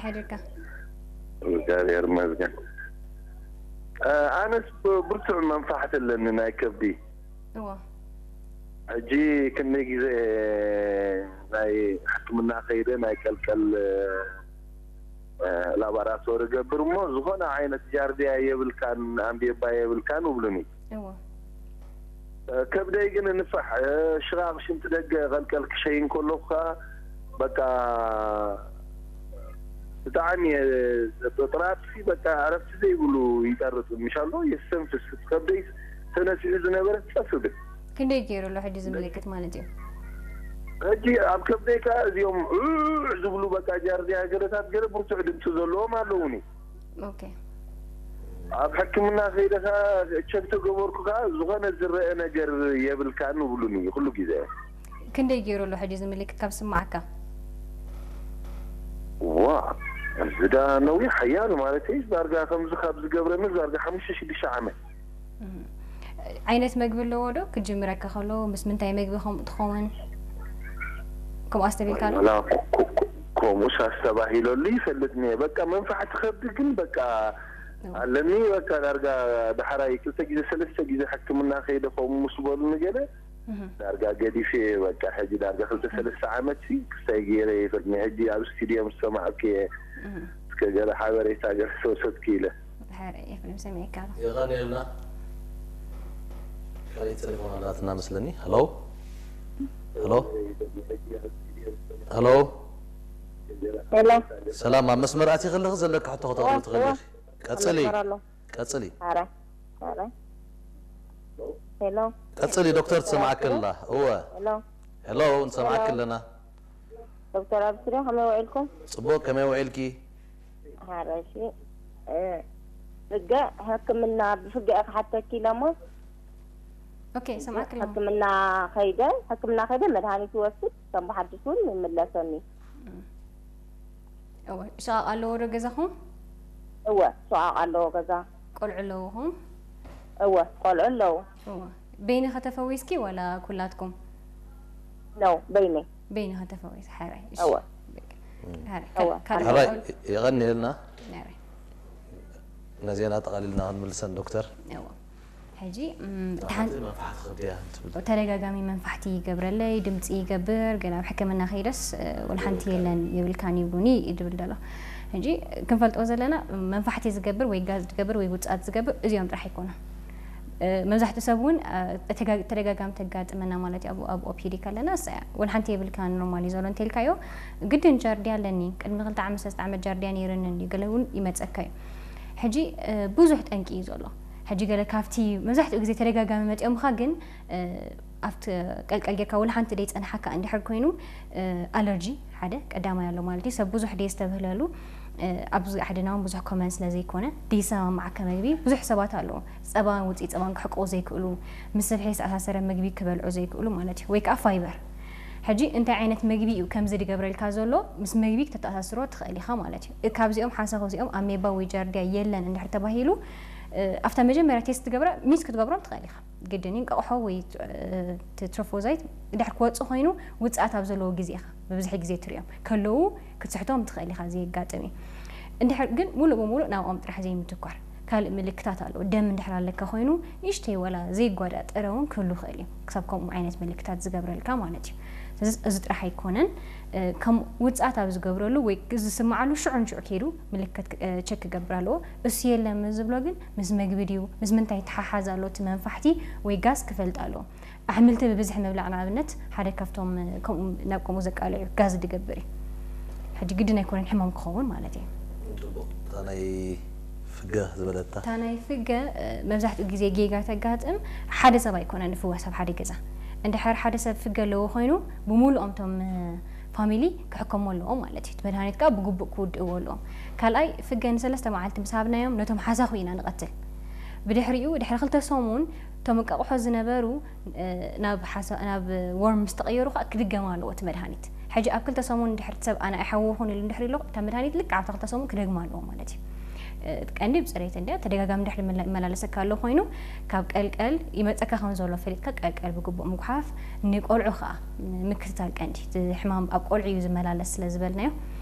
ሓድርካ? እግዚኣብሔር ይመስገን። ኣነስ ብርቱዕ መንፋሕቲ ኣለኒ ናይ ከብዲ። እዎ። ሕጂ ክንደይ ግዜ ናይ ሕክምና ከይደ ናይ ቀልቀል ላባራቶሪ ገብር እሞ ዝኾነ ዓይነት ጃርዲያ የብልካን፣ ኣምቤባ የብልካን እብሉኒ። እዎ። ከብደይ ግን ንፋሕ፣ ሽቓቕ ሽንቲ ደገ ቀልቀል ክሸይን ከለኹ ከዓ በቃ ብጣዕሚ ጥራጥሲ በቃ ዕረፍቲ ዘይብሉ ይጠርጥ ምሻሎ የስተንፍስ። ከብደይ ተነሲሑ ዝነበረ ጸፍ ብል። ክንደይ ገይሩ ኣሎ ሕጂ እዚ ምልክት ማለት እዩ? ሕጂ ኣብ ከብደይ ከዓ እዚኦም ዑዕ ዝብሉ በቃ ጃርዲያ ገለታት ገለ ብርቱዕ ድምፂ ዘለዎም ኣለውኒ። ኦኬ። ኣብ ሕክምና ከይደ ከዓ ቸክ ተገበርኩ ከዓ ዝኾነ ዝረአ ነገር የብልካን ይብሉኒ ኩሉ ግዜ። ክንደይ ገይሩ ኣሎ ሕጂ እዚ ምልክት ካብ ስማዓካ? ዋ እዚ ዳ ነዊሕ ሓያል ማለት እዩ። ዳርጋ ከምዚ ካብ ዝገብረኒ ዳርጋ ሓሙሽተ ሽዱሽተ ዓመት። ዓይነት መግቢ ኣለዎ ዶ ክጅምረካ ከሎ ምስ ምንታይ መግቢ ከምኡ ትኸውን? ከምኡ ኣስተቢልካ ኣሎ? ወላ ኮ- ኮ- ኮ- ከምኡስ ኣስተባሂለሉ ይፈልጥኒ እየ። በቃ መንፋሕቲ ከብዲ ግን በቃ ኣለኒ። በቃ ዳርጋ ዳሕራይ ክልተ ግዜ ሰለስተ ግዜ ሕክምና ከይደ ከምኡ ምስ በሉኒ ገለ እህ። ዳርጋ ገዲፈ እየ። በቃ ሕጂ ዳርጋ ክልተ ሰለስተ ዓመት ሲ ክስታይ ገይረ ይፈልጥኒ። ሕጂ ኣብ ስቱድዮ ምስ ሰማዕኩ እየ እህ። እስከ ገለ ሓበሬታ ገለ ተወሰድኩ ኢለ። ድሓር ኤፍሬም ሰሚዕካ ኣሎ። የቐንየልና። ካልእ ቴሌፎን ኣላትና መስለኒ። ሄሎ ሄሎ ሄሎ። ሄሎ። ሰላም፣ ኣብ መስመር ኣትየ ከለኺ ዘለካ ሕቶ ከተቕርቢ ትኽእሊ ኢኺ። ቀጽሊ። መስመር ኣሎ። ቀጽሊ። ኧረ፣ ኧረ። ሄሎ። ቀጽሊ ዶክተር፣ ትሰማዓኪ ኣላ። እወ። ሄሎ። ሄሎ፣ ንሰማዓኪ ኣለና። ዶክተር ኣብስሪ ከመይ ውዒልኩም? ጽቡቕ፣ ከመይ ውዒልኪ? ኧረ፣ እሺ። እ፣ ፍገ ሕክምና ብፍገ እየ ክሓተኪ ኢለ እሞ ኦኬ፣ ሰማዕኪ ኣለኹ። ሕክምና ከይደ ሕክምና ከይደ መድሃኒት ይወስድ ከም ብሓድሽ እውን ይምለሰኒ። እወ፣ ሸቓቕ ኣለዎ ዶ ገዛኹም? እወ፣ ሸቓቕ ኣለዎ ገዛ። ቆልዑ ኣለውኹም? እወ፣ ቆልዑ ኣለዉ። እወ። በይንኸ ተፈዊስኪ ዋላ ኩላትኩም? ነው በይነይ። በይንኸ ተፈዊስ፣ ሓራይ። እሺ። እወ። ሓራይ። እወ። ካልእ ሕራይ ቆልዑ? የቐንየልና። ሓራይ። ነዚአን ኣጠቓሊልና ክንምልሰን ዶክተር። እወ። ሕጂ እም፣ እቲ ሓንቲ መንፋሕቲ ከብድያ ትብል። ተደጋጋሚ መንፋሕቲ ይገብረለይ፣ ድምፂ ይገብር፣ ግን ኣብ ሕክምና ከይደስ እ፣ ወላ ሓንቲ የለን የብልካን ይብሉኒ እዩ ዝብል ዘሎ። ሕጂ ክንፈልጦ ዘለና መንፋሕቲ ዝገብር ወይ ጋዝ ዝገብር ወይ ውፅኣት ዝገብር እዚኦም ጥራሕ ኣይኮኑን። እ፣ መብዛሕትኡ ሰብ እውን እ፣ ተጋ- ተደጋጋሚ ተጋጥመና ማለት እዩ። ኣብ- ኣብ ኦፒዲ ከለና እሳ እያ ወላ ሓንቲ የብልካን ኖርማል እዩ ዘሎ እንተልካዮ ግድን ጃርዲያ ኣለኒ ቅድሚ ክልተ ዓመት ሰለስተ ዓመት ጃርዲያ ነይርኒ እንዲ ገለ እውን ይመፀካ እዩ። ሕጂ እ፣ ብዙሕ ጠንቂ እዩ ዘሎ። ሕጂ ገለ ካብቲ መብዛሕትኡ ግዜ ተደጋጋሚ መፂኦምኻ ግን እ፣ ኣብቲ ቀልቀል ጌርካ ወላ ሓንቲ ደይፀንሓካ እንድሕር ኮይኑ እ፣ ኣለርጂ ሓደ ቀዳማይ ኣሎ ማለት እዩ። ሰብ ብዙሕ ደየስተብህለሉ እ፣ ኣብዚ ዓድና እውን ብዙሕ ኮመን ስለ ዘይኮነ ደይሰማማዓካ መግቢ ብዙሕ ሰባት ኣለዎ። ፀባን ውፅኢት ፀባን ክሕቅቑ ዘይክእሉ ምስ ስብሒ ዝተኣሳሰረ ምግቢ ክበልዑ ዘይክእሉ ማለት እዩ። ወይ ከዓ ፋይበር ሕጂ እንታይ ዓይነት መግቢ እዩ ከምዚ ዝገብረልካ ዘሎ ምስ መግቢ ክተተኣሳስሮ ትኽእል ኢኻ ማለት እዩ። እ፣ ካብዚኦም ሓንሳብ ካብዚኦም ኣሜባ ወይ ጃርዲያ የለን እንድሕር ተባሂሉ እ፣ ኣብታ መጀመርያ ቴስት ትገብራ ሚስ ክትገብሮም ትኽእል ኢኻ። ግድን እዩ እንቃቑሖ ወይ እ፣ እቲ ትሮፎዛይት ድሕር ክወፅእ ኮይኑ ውፅኣት ኣብ ዘለዎ ግዜ ኢኻ ብብዝሒ ግዜ ትሪኦም ከለዉ ክትስሕቶም ትኽእል ኢኻ። እዚ የጋጥም እዩ። እንድሕር ግን ሙሉእ ብሙሉእ ናብኦም ጥራሕ ዘይምትኳር ካልእ ምልክታት ኣለዎ። ደም እንድሕር ኣለካ ኮይኑ ንእሽተይ ወላ ዘይጓዳእ ጥረ እውን ክህሉ ይኽእል እዩ። ክሳብ ከምኡ ዓይነት ምልክታት ዝገብረልካ ማለት እዩ። ስለዚ እዚ ጥራሕ ኣይኮነን። እ፣ ከም ውፅኣት ኣብ ዝገብረሉ ወይ ዝስምዓሉ ሽዑ ንሽዑ ከይዱ ምልክት ክ- እ፣ ቸክ ክገብር ኣለዎ። እሱ የለን ምስ ዝብሎ ግን ምስ መግቢ ድዩ ምስ ምንታይ ይተሓሓዝ ኣሎ እቲ መንፋሕቲ ወይ ጋስ ክፈልጥ ኣለዎ። ኣሕምልቲ ብብዝሒ ምብላዕ ንኣብነት ሓደ ካብቶም እ፣ ከምኡ ናብ ከምኡ ዘቃልዕ እዩ ጋዝ ዝገብር እዩ። ሕጂ ግድን ኣይኮነን ሕማም ክኸውን ማለት እዩ። ጽቡቕ። እታ ናይ ፍገ ዝበለታ እታ ናይ ፍገ እ፣ መብዛሕትኡ ግዜ ጌጋ ተጋጥም ሓደ ሰብ ኣይኮነን ዝፍወስ ኣብ ሓደ ገዛ። እንድሕር ሓደ ሰብ ፍገ ኣለዎ ኮይኑ ብምሉኦም እቶም እ፣ ፋሚሊ ክሕከሙ ኣለዎም ማለት እዩ። እቲ መድሃኒት ከዓ ብግቡእ ክውድእዎ ኣለዎም። ካልኣይ ፍገ ንሰለስተ መዓልቲ ምስ ሃብናዮም ነቶም ሓሳኹ ኢና ንቐትል። ብድሕሪኡ ድሕሪ ክልተ ሰሙን እቶም እንቃቑሖ ዝነበሩ እ፣ ናብ ሓሳ- ናብ ወርም ምስ ተቐየሩ ከዓ ክድገም ኣለዎ እቲ መድሃኒት። ሕጂ ኣብ ክልተ ሰሙን ድሕሪ ሰብ ኣነ ኣይሓወኹን ኢሉ እንድሕር ኢሎ እታ መድሃኒት ልክዕ ኣብታ ክልተ ሰሙን ክደግማ ኣለዎ ማለት እዩ። እ፣ ቀንዲ ብፅሬት እንድያ ተደጋጋሚ ድሕሪ መላ- መላለሰካ ኣሎ ኮይኑ ካብ ቀልቀል ይመፀካ ከም ዘሎ ፈሊጥካ ቀልቀል ብግቡእ ምጉሓፍ ንቆልዑ ከዓ ምክትታል ቀንዲ እቲ ሕማም ኣብ ቆልዑ እዩ ዝመላለስ ስለ ዝበልናዮ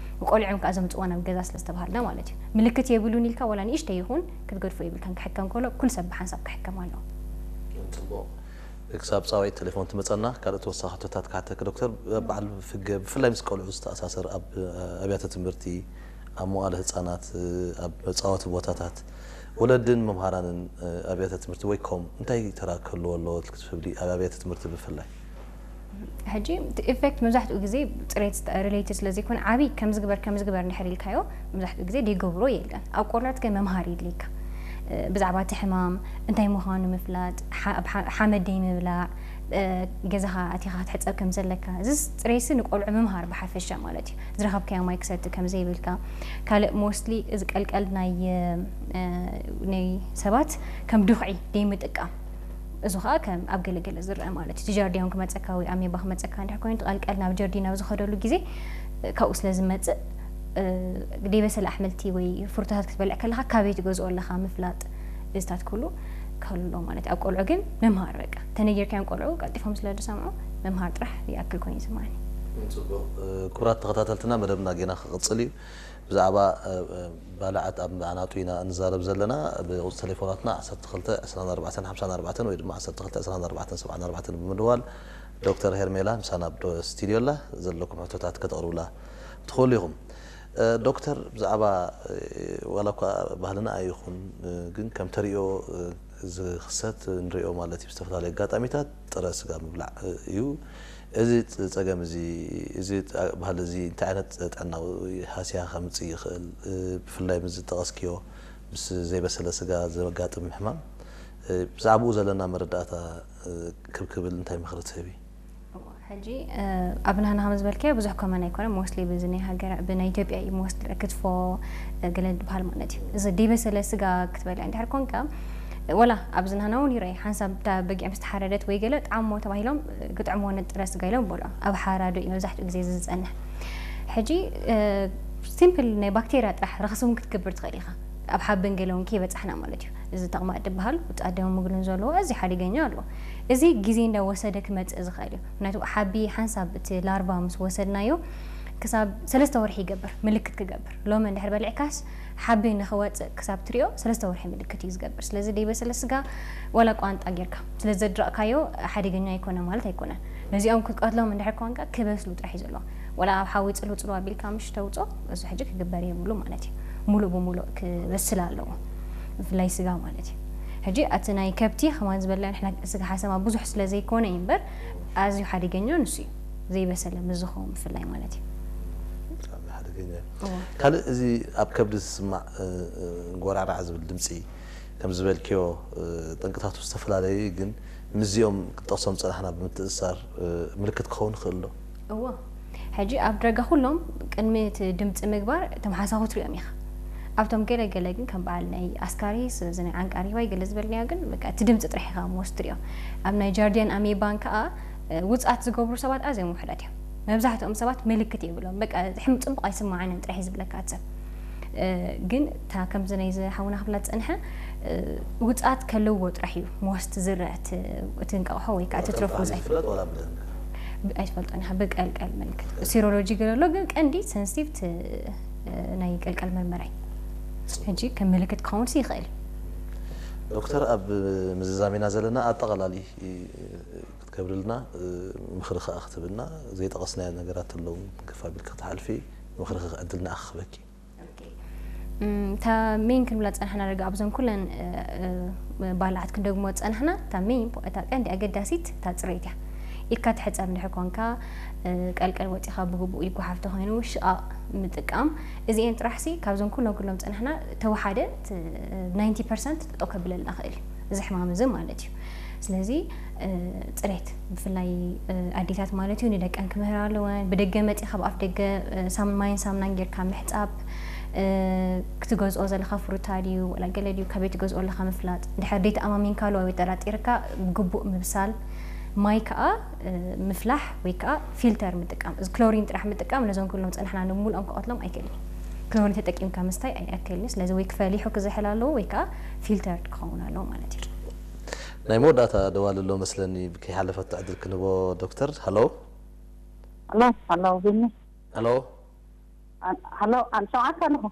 ቆልዑ ከኣ ዘምፅዋ ናብ ገዛ ስለ ዝተባሃልና ማለት እዩ። ምልክት የብሉን ኢልካ ዋላ ንእሽተይ ይኹን ክትገድፎ የብልካን። ክሕከም ከሎ ኩሉ ሰብ ብሓንሳብ ክሕከም ኣለዎ። ፅቡቕ። ክሳብ ፃውዒት ቴሌፎን ትመፀና ካልእ ተወሳኺ ሕቶታት ክሓተኪ ዶክተር። በዓል ፍገ ብፍላይ ምስ ቆልዑ ዝተኣሳሰር ኣብ ኣብያተ ትምህርቲ፣ ኣብ መዋእለ ህፃናት፣ ኣብ መፃወቲ ቦታታት ወለድን መምሃራንን ኣብያተ ትምህርቲ ወይ ኮም እንታይ ተራ ክህልዎ ኣለዎ ክትብሊ ኣብ ኣብያተ ትምህርቲ ብፍላይ? ሕጂ እቲ ኢፌክት መብዛሕትኡ ግዜ ፅሬት ሪሌትድ ስለ ዘይኮነ ዓብዪ ከምዚ ግበር ከምዚ ግበር እንድሕር ኢልካዮ መብዛሕትኡ ግዜ ዘይገብሮ የለን። ኣብ ቆልዑት ግን መምሃሪ የድልየካ። ብዛዕባ እቲ ሕማም እንታይ ምዃኑ ምፍላጥ፣ ሓመድ ደይ ምብላዕ፣ ገዛኻ ኣቲኻ ክትሕፀብ ከም ዘለካ፣ እዚ ፅሬትሲ ንቆልዑ ምምሃር ብሓፈሻ ማለት እዩ። ዝረኸብካዮ ማይ ክሰቲ ከም ዘይብልካ፣ ካልእ ሞስትሊ እዚ ቀልቀል ናይ ናይ ሰባት ከም ድኹዒ ደይ ምጥቃም፣ እዚ ከዓ ከም ኣብ ገለገለ ዝረአ ማለት እዩ። እቲ ጃርዲያን ክመፀካ ወይ ኣሜባ ክመፀካ እንድሕር ኮይኑ፣ እቲ ቀልቀል ናብ ጀርዲ ናብ ዝኸደሉ ግዜ ካብኡ ስለ ዝመፅእ፣ ደይበሰለ ኣሕምልቲ ወይ ፍሩታታት ክትበልዕ ከለኻ ካበይ ትገዝኦ ኣለኻ ምፍላጥ፣ እዚታት ኩሉ ከሎ ማለት እዩ። ኣብ ቆልዑ ግን ምምሃር በቃ ተነጊርካዮም ቆልዑ ቀልጢፎም ስለ ዝሰምዑ ምምሃር ጥራሕ ይኣክል ኮይኑ ይስማዓኒ። ፅቡቕ። ክቡራት ተኸታተልትና መደብና ጌና ክቕፅል እዩ። ብዛዕባ ባልዓት ኣብ ኣናጡ ኢና እንዛረብ ዘለና። ብቁፅሪ ቴሌፎናትና ዓሰርተ ክልተ ዕስራን ኣርባዕተን ሓምሳን ኣርባዕተን ወይ ድማ ዓሰርተ ክልተ ዕስራን ኣርባዕተን ሰብዓን ኣርባዕተን ብምድዋል ዶክተር ሄርሜላ ምሳና ኣብ ስቱድዮ ኣላ። ዘለኩም ሕቶታት ከተቕርቡላ ትኽእሉ ኢኹም። ዶክተር፣ ብዛዕባ ዋላ እኳ ባህልና ኣይኹን ግን ከም ተሪኦ ዝኽሰት ንሪኦ ማለት እዩ። ዝተፈላለዩ ኣጋጣሚታት ጥረ ስጋ ምብላዕ እዩ። እዚ ጸገም እዚ፣ እዚ ባህሊ እዚ እንታይ ዓይነት ጥዕናዊ ሃስያ ከምጽእ ይኽእል? ብፍላይ ምስ ዝጠቐስክዮ ምስ ዘይበሰለ ስጋ ዘጋጥም ሕማም ብዛዕባኡ ዘለና መረዳእታ ክብ ክብል እንታይ ምኽሪ ትህቢ? ሕጂ ኣብ ናህና ከም ዝበልካዮ ብዙሕ ኮመን ኣይኮነ ሞስትሊ ብዚ ናይ ሃገር ብናይ ኢትዮጵያ እዩ ሞስትሊ ክትፎ ገለ ዝበሃል ማለት እዩ። እዚ ደይበሰለ ስጋ ክትበልዕ እንድሕር ኮንካ ወላ ኣብዚ ናህና እውን ይረኣይ ሓንሳብ እታ በጊዕ ምስ ተሓረደት ወይ ገለ ጣዕሞ ተባሂሎም ግጥዕሞ ነጥረ ስጋ ኢሎም በልዖ ኣብ ሓራዶ እዩ መብዛሕትኡ ግዜ እዚ ዝፀንሕ። ሕጂ ሲምፕል ናይ ባክቴርያ ጥራሕ ረኽሲ እውን ክትገብር ትኽእል ኢኻ ኣብ ሓብን ገለ እውን ከይበፃሕና ማለት እዩ። እዚ ተቕማጥ ዝበሃል ውፃእ ደም ምግሉን ዘለዎ እዚ ሓደገኛ ኣለዎ። እዚ ግዜ እንዳወሰደ ክመፅእ ዝኽእል እዩ። ምክንያቱ ሓቢ ሓንሳብ እቲ ላርቫ ምስ ወሰድናዮ ክሳብ ሰለስተ ወርሒ ይገብር ምልክት ክገብር። ሎሚ እንድሕር በሊዕካስ ሓቢ ንኽወፅእ ክሳብ ትሪኦ ሰለስተ ወርሒ ምልክት እዩ ዝገብር። ስለዚ ደይበሰለ ስጋ ዋላ ቋንጣ ጌርካ ስለ ዘድረቕካዮ ሓደገኛ ኣይኮነ ማለት ኣይኮነን። ነዚኦም ክትቀትሎም እንድሕር ኮንካ ክበስሉ ጥራሕ እዩ ዘለዎ። ዋላ ኣብ ሓዊ ፅልው ፅልው ኣቢልካ ምሽ ተውፅኦ እዚ ሕጂ ክግበር የብሉ ማለት እዩ። ሙሉእ ብሙሉእ ክበስል ኣለዎ ብፍላይ ስጋ ማለት እዩ። ሕጂ እቲ ናይ ከብቲ ከማን ዝበልና ንሕና ስጋ ሓሰማ ብዙሕ ስለ ዘይኮነ እዩ እምበር ኣዝዩ ሓደገኛ ንሱ እዩ። ዘይበሰለ ምስ ዝኸውን ብፍላይ ማለት እዩ። ብጣዕሚ ሓደገኛ እዩ። እዎ። ካልእ እዚ ኣብ ከብዲ ዝስማዕ ጎራዕራዕ ዝብል ድምፂ ከም ዝበልክዮ ጠንቅታቱ ዝተፈላለዩ ግን ምስዚኦም ክጠቕሶም ዝፀናሕና ብምትእስሳር ምልክት ክኸውን ይኽእል ዶ? እዎ። ሕጂ ኣብ ደረጋ ኩሎም ቅድሚ እቲ ድምፂ ምግባር እቶም ሓሳኹ ትሪኦም ኢኻ። ኣብቶም ገለ ገለ ግን ከም በዓል ናይ ኣስካሪስ እዚ ናይ ዓንቃሪባይ ገለ ዝበልናዮ ግን በቃ እቲ ድምፂ ጥራሕ ኢኻ ሞስ ትሪኦ። ኣብ ናይ ጃርዲያን ኣሜባን ከዓ ውፅኣት ዝገብሩ ሰባት ኣዝዮም ውሕዳት እዮም። መብዛሕትኦም ሰባት ምልክት የብሎም። በቃ ሕም ፅቡቕ ኣይስማዓንን ጥራሕ እዩ ዝብለካ እቲ ሰብ። ግን እታ ከምዚ ናይ ዝሓውና ክብላ ዝፀንሐ ውፅኣት ከለዎ ጥራሕ እዩ ሞስት ዝረአ እቲ እንቃቕሖ ወይ ከዓ እቲ ትረፍ ውፅኣት ዝፍለጥ ዋላ ብደንብ ኣይትፈልጦን ኢኻ ብቀልቀል ምልክት ሲሮሎጂ ገለ ኣሎ ግን ቀንዲ ሰንስቲቭ ናይ ቀልቀል መርመራይ ሕጂ ከም ምልክት ክኸውን ሲ ይኽእል ዶክተር ኣብ ምዝዛም ኢና ዘለና ኣጠቓላሊ ክትገብርልና ምኽሪ ከዓ ክትብልና ዘይጠቐስናዮ ነገራት ኣለዉ ክፋ ቢልክ ክትሓልፊ ምኽሪ ዕድል ንኣኽበኪ እታ ሜን ክንብላ ዝፀናሕና ደጋ ኣብዞን ኩለን ባልዓት ክንደግሞ ዝፀናሕና እታ ሜን እታ ቀንዲ ኣገዳሲት እታ ፅሬት እያ ኢድካ ትሕፀብ እንድሕር ኮንካ ቀልቀል ወፂኻ ብግቡእ ይጓሓፍ ተኮይኑ ሽቓቕ ምጥቃም እዚኤን ጥራሕ ሲ ካብዞን ኩሎም ክብሎም ዝፀናሕና ተወሓደ ናይንቲ ፐርሰንት ጠጠው ከብለልና ይኽእል እዩ እዚ ሕማም እዚ ማለት እዩ ስለዚ ፅሬት ብፍላይ ኣዴታት ማለት እዩ ንደቀን ክምህራ ኣለወን ብደገ መፂኻ ብኣፍ ደገ ሳምን ማይን ሳምናን ጌርካ ምሕፃብ ክትገዝኦ ዘለካ ፍሩታ ድዩ ወላ ገለ ድዩ ካበይ ትገዝኦ ኣለካ ምፍላጥ ድሕር ደይ ተኣማሚንካሉ ወይ ጠራጢርካ ብግቡእ ምብሳል ማይ ከዓ ምፍላሕ ወይ ከዓ ፊልተር ምጥቃም እዚ ክሎሪን ጥራሕ ምጥቃም ነዞም ክብሎም ፀናሕና ንምሉኦም ክቐትሎም ኣይክእልን ክሎሪን ተጠቂምካ ምስታይ ኣይኣክልን ስለዚ ወይ ክፈሊሑ ክዝሕል ኣለዎ ወይ ከዓ ፊልተር ክኸውን ኣለዎ ማለት እዩ ናይ መወዳእታ ደዋል ኣሎ መስለኒ ከይሓለፈት ዕድል ክንቦ ዶክተር ሃሎ ኣሎ ኣሎ ብኒ ሃሎ ሃሎ፣ ኣብ ሸውዓተ ኣለኹ።